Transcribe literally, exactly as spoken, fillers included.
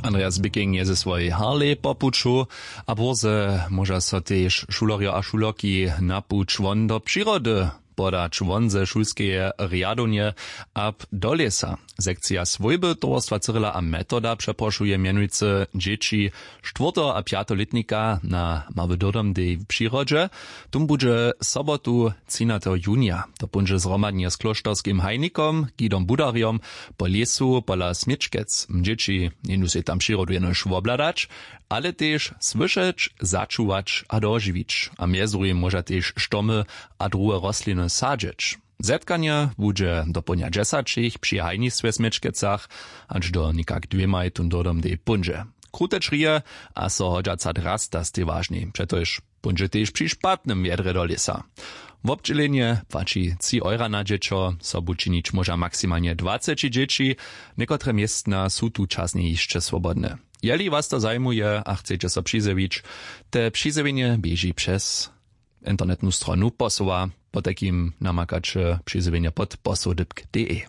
Andreas Bicking je ze swojej harlej po puću. A bórze móža so tež šulerjo a šulerki na puć won do přirody podać won ze šulskeje rjadownje ab do lěsa. Sekcija swójby towarstwa cyrila a metoda přeprošuje mjenujcy dźěći štwórteho a pjateho lětnika na mały dodom dej w přirodźe. Tón budźe sobotu třinateho junija to póńdźe zhromadnje z klóšterskim hajnikom gidom budarjom po lěsu pola směčkec. Dźěći njejdu sej tam přirodu jenož wobhladać, ale tež słyšeć, začuwać a dožiwić a mjez druhim móža tež štomy a druhe rostliny sadźeć. Zetkanje budźe dopołdnja dźesaćich při hajnistwje w směčkecach, hač do někak dwěmaj tón dodom dej póńdźe. Krute črije a so hodźaca drasta stej wažni přetož póńdźe tež při špatnym wjedrje do lěsa. Wobdźělenje płaći tři eura na dźěćo. Sobu činić móža maksimalnje dwaceći dźěći. Někotre městna su tu časnje hišće swobodne. Jeli was to zajimuje a chceće so přizjewić, te přizjewjenje běži přez internetnu stronu posoła. Potajkim namakaće přizjewjenje pod posołdypk de.